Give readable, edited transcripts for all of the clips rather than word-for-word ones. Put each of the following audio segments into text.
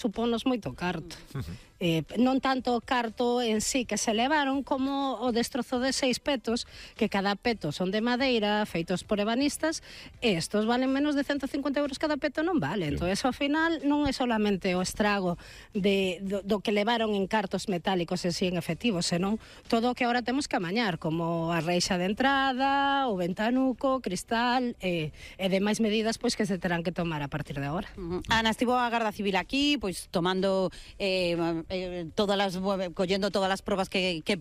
supónos moito carto. Non tanto o carto en sí que se levaron como o destrozo de 6 petos, que cada peto son de madeira, feitos por ebanistas, e estos valen menos de 150 euros cada peto, non vale. Entón, ao final non é solamente o estrago do que levaron en cartos metálicos en sí en efectivo, senón todo o que agora temos que amañar, como a reixa de entrada, o ventanuco, cristal e demais medidas pois que se terán que tomar a partir de agora. Ana, estivo a Garda Civil aquí, pois tomando collendo todas as probas que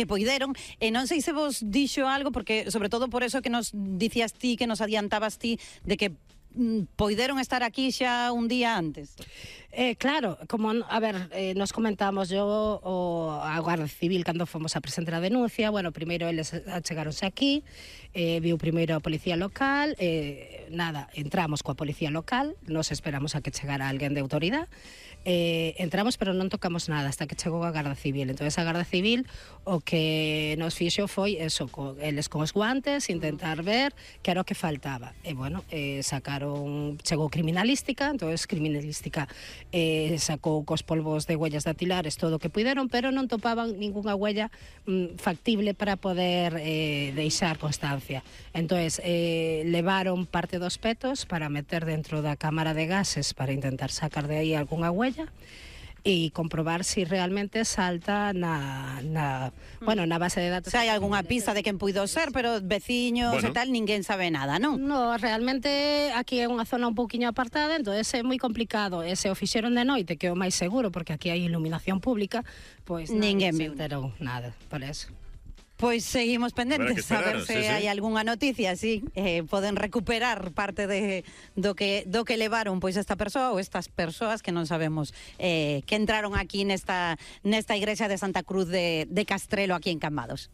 poideron, e non sei se vos dixo algo, porque sobre todo por eso que nos dicías ti, que nos adiantabas ti, de que poideron estar aquí xa un día antes. Claro, como, a ver, nos comentamos a Guardia Civil cando fomos a presentar a denuncia. Bueno, primeiro eles achegáronse aquí, viu primeiro a policía local, entramos coa policía local, nos esperamos a que chegara alguén de autoridade, entramos pero non tocamos nada hasta que chegou a Garda Civil. Entón a Garda Civil o que nos fixo foi eso, eles con os guantes, intentar ver que era o que faltaba. E bueno, chegou criminalística, entón criminalística sacou cos polvos de huellas dactilares todo o que puideron, pero non topaban ningunha huella factible para poder deixar constancia. Entón levaron parte dos petos para meter dentro da cámara de gases para intentar sacar de aí algunha huella e comprobar si realmente salta na base de datos. Se hai algunha pista de quen puido ser, pero veciños e tal, ninguén sabe nada, non? No, realmente aquí é unha zona un pouquiño apartada, entón é moi complicado. E se o fixeron de noite, que é o máis seguro, porque aquí hai iluminación pública, pois ninguén se enterou nada, por eso. Pois seguimos pendentes a ver se hai algunha noticia, poden recuperar parte do que levaron pois esta persoa ou estas persoas que non sabemos que entraron aquí nesta igrexa de Santa Cruz de Castrelo aquí en Cambados.